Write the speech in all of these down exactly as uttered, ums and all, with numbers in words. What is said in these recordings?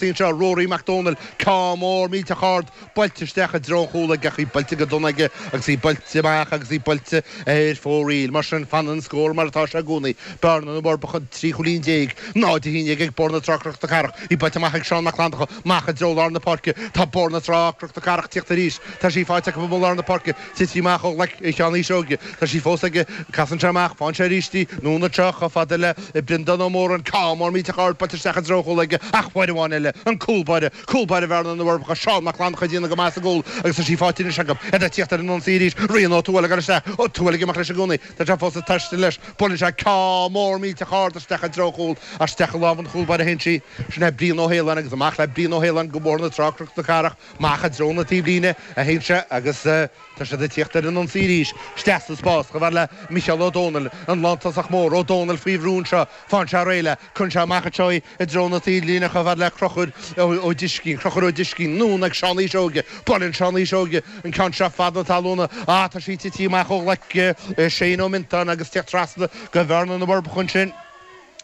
Anseo Rory Mac Dónaill, ceann mór millteach ard, buailte isteach i dtreo an chúil aige ach í buailte go dona aige agus í buailte amach agus í buailte ar fóraoil. Mar sin, fanann an scór mar atá sé i gcónaí, Bearna na bhForbacha trí chúilín déag, náid a haon déag ag Bóthar na Trá Cnoc na Cathrach. Í buailte amach ag Seán Mac Fhlannchadha, amach i dtreo lár na páirce. Tá Bóthar na Trá Cnoc na Cathrach ag tíocht arís. Tá sí faighte acu i lár na páirce. Tití amach ó ghlaic Sheáin Uí Seoige. Tá sí fós aige. Casann sé amach. Faigheann sé arís í. Anonn anseo chomh fada le Breandán Ó Móráin. Ceann mór millteach ard buailte isteach i dtreo an chúil aige ach uair amháin eile. An cúl báire, cúl báire Bhearna na bhForbacha, Seán Mac Fhlannchadha ag déanamh go maith sa gcúl agus tá sí faighte anois acu. Iad ag tíocht ar an ionsaí arís. Rian Ó Tuathail ag dul isteach. Ó Tuathail ag imeacht leis i gcónaí. Tá sé fós ag taisteal leis. Buaileann sé ceann mór millteach ard isteach i dtreo an chúil. Ach isteach i lámh an chúl báire a théann sí. Sin é Brian Ó hAoláin agus amach le Brian Ó hAoláin go Bóthar na Trá Cnoc na Cathrach. Amach i dtreo na taobhlíne a théann sé agus tá siad ag tíocht ar an ionsaí arís. Isteach sa spás chomh fada le Micheál Ó Dónaill, an lántosach mór. Ó Dónaill faoi bhrú anseo. Faigheann sé réidh léi. Cuireann sé amach anseo í i dtreo na taobhlíne chomh fada le Crochúr Ó Discín. Crochúr Ó Discín anonn ag Seán Uí Seoige. Buaileann Seán Uí Seoige an ceann seo fad na talúna. Ah, tá sí tití amach ó ghlaic Shane Ó Mintáin agus tíocht trasna go Bhearna na bhForbacha ansin.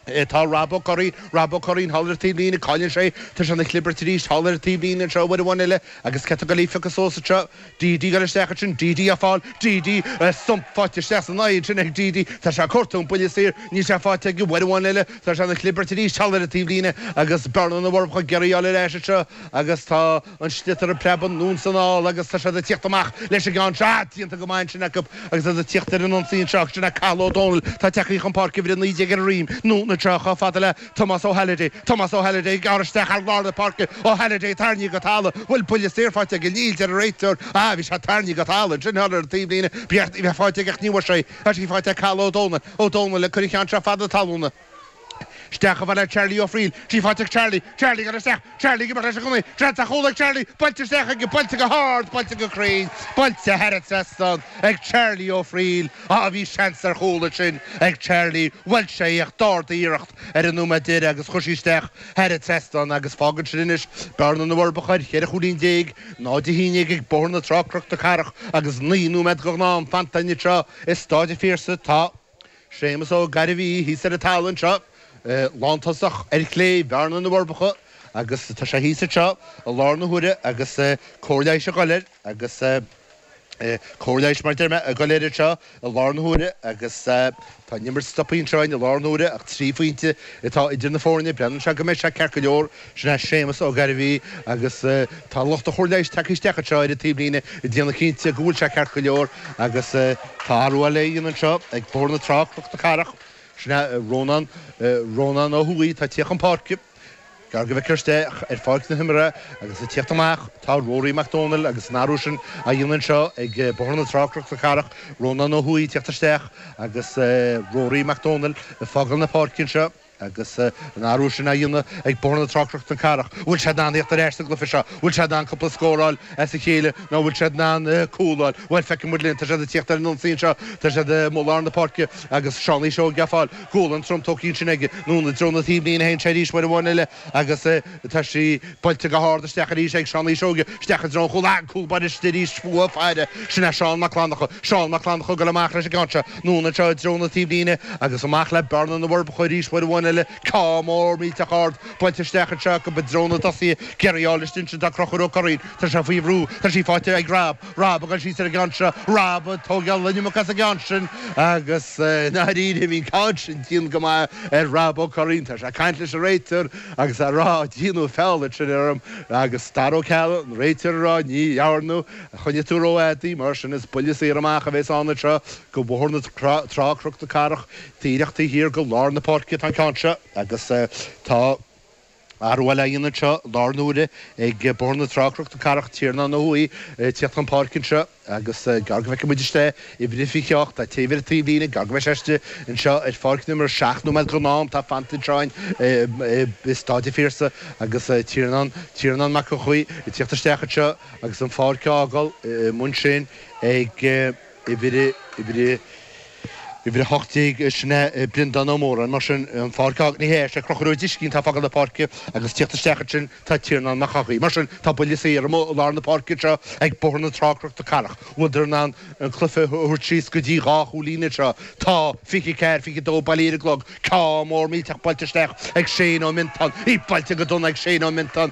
Tá Rob Ó Curraoin, Rob Ó Curraoin thall ar an taobhlíne, cailleann sé, tá sé ina chlibirt arís thall ar an taobhlíne anseo uair amháin eile agus cé atá ag goil í a phiocadh suas anseo? DD ag goil isteach ansin, DD á fáil, DD, stump faighte isteach san aghaidh ansin ag DD, tá sé ag cuartú an buille saor, níl sé faighte aige uair amháin eile, tá sé ina chlibirt arís thall ar an taobhlíne agus Bearna na bhForbacha ag iarraidh í a fháil ar ais anseo agus tá an sliotar ag preabadh anonn is anall agus tá siad ag tíocht amach leis an gceann seo, déanta go maith ansin acu agus iad ag tíocht ar an ionsaí anseo, sin é Cathal Ó Dónaill, tá tagtha chun páirce uimhir a naoi déag ar a dhroim, anonn anseo chomh fada le Tomás Ó hAlliday, Tomás Ó hAlliday ag gearradh isteach thar lár na páirce, Ó hAlliday tarraingthe go talamh, bhfuil buille saor faighte aige, níl, deir an réiteoir, ah bhí sé tarraingthe go talamh ansin thall ar an taobhlíne, ba cheart a bheith faighte aige ach ní bhfuair sé, tá sí faighte ag Cathal Ó Dónaill, Ó Dónaill ag cur an cheann seo fad na talúna. Isteach chomh fada le Charlie Ó Frighil, sí faighte ag Charlie, Charlie ag dul isteach, Charlie ag imeacht leis i gcónaí, seans ar chúl ag Charlie, buailte isteach aige, buailte go hard, buailte go cruinn, buailte thar an trasnán ag Charlie Ó Frighil. Á, bhí seans ar chúl ansin ag Charlie, bhuail sé í ach d'ardaigh iarracht ar an nóiméad deiridh agus chuir sí isteach thar an trasnán agus fágann sin anois Bearna na bhForbacha ar cheithre chúilín déag, náid a haon déag ag Bóthar na Trá Cnoc na Cathrach agus naoi nóiméad go ghnáth-am fanta anseo i Stáid an Phiarsaigh. Tá. Séamus Ó Gairbhí thíos ar an talamh anseo, lántosach ar chlé Bhearna na bhForbacha agus tá sé thíos anseo i lár na huaire agus cóir leighis ag dul air agus cóir leighis mar deir mé ag dul air anseo i lár na huaire agus tá an imirt stoptha anseo i lár na huaire ach trí phointe atá idir na foirne. Breathnaíonn sé go mbeidh sé ceart go leor. Sin é Séamus Ó Gairbhí agus tá lucht an chóir leighis tagtha isteach anseo ar an taobhlíne ag déanamh cinnte go bhfuil sé ceart go leor agus tá athrú eile á dhéanamh anseo ag Bóthar na Trá, Cnoc na Cathrach. Sin é Rónán, Rónán Ó hUaidh atá ag tíocht chun páirce. Gearr go bhfeictear isteach ar pháirc na himeartha agus ag tíocht amach tá Rory Mac Dónaill agus an athrú sin á dhéanamh anseo ag Bóthar na Trá, Cnoc na Cathrach, Rónán Ó hUaidh ag tíocht isteach agus Rory Mac Dónaill ag fágáil na páirce anseo agus an athrú sin á dhéanamh ag Bóthar na Trá, Cnoc na Cathrach. Bhfuil siad in ann tíocht ar ais sa gcluiche seo? Bhfuil siad in ann cúpla scór a fháil as a chéile nó bhfuil siad in ann cúl a fháil? Bhuel, feicfidh muid linn. Tá siad ag tíocht ar an ionsaí anseo. Tá siad amuigh i lár na páirce agus Seán Uí Seoige á fáil. Gualainn trom tógtha ansin aige. Anonn i dtreo na taobhlíne a théann sé arís uair amháin eile agus tá sí buailte go hard isteach arís ag Seán Uí Seoige. Isteach i dtreo an chúil. Ah, an cúl báire istigh arís fúthu ag faire. Sin é Seán Mac Fhlannchadha. Seán Mac Fhlannchadha ag dul amach leis an gceann seo. Anonn anseo i dtreo na taobhlíne agus amach le Bearna na bhForbacha arís uair amháin eile. Ceann mór millteach ard buailte isteach anseo acu i dtreo na dtosaithe. Ag iarraidh í a fháil istigh ansin tá Conchúr Ó Curraoin. Tá sé faoi bhrú. Tá sí faighte ag Rob. Rob ag dul síos ar an gceann seo. Rob ag tógáil an iomarca as an gceann sin agus i ndáiríre bhí an ceann sin dian go maith ar Rob Ó Curraoin. Tá sé ag caint leis an réiteoir agus á rá déanadh feall ansin orm agus Dara Ó Ceallaigh, an réiteoir ag rá ní dhearnadh, choinnigh tú rófhada í, mar sin is buille saor amach a bheas ann anseo go Bóthar na Trá, Cnoc na Cathrach, díreach taobh thiar de lár na páirce atá an ceann seo agus tá athrú eile á dhéanamh anseo i lár na huaire ag Bóthar na Trá, Cnoc na Cathrach, Tiarnán Ó hUaidh ag tíocht chun páirce anseo agus gearr go bhfeicfidh muid istigh uimhir a fiche a hocht, tá taobh ar an taobhlíne, gearr go mbeidh sé istigh anseo ar pháirc na himeartha, seacht nóiméad den am atá fanta anseo i Stáid an Phiarsaigh agus Tiarnán, Tiarnán Mac Eochaidh ag tíocht isteach anseo agus an pháirc á fhágáil i mbun sin ag uimhir, uimhir. Uimhir a hocht déag, sin é Breandán Ó Móráin. Mar sin, an pháirc á, ní hea, sé Conchúr Ó Driscín atá ag fágáil na páirce agus tíocht isteach ansin tá Tiarnán Mac Eochaidh. Mar sin, tá buille saor amuigh i lár na páirce anseo ag Bóthar na Trá Cnoc na Cathrach. Bhfuileadar in ann an cluiche a thabhairt síos go dtí dhá chúilín anseo? Tá, fiche ceathair, fiche dó bailithe ar an gclog. Ceann mór millteach buailte isteach ag Shane Ó Miontáin. Í buailte go dona ag Shane Ó Miontáin.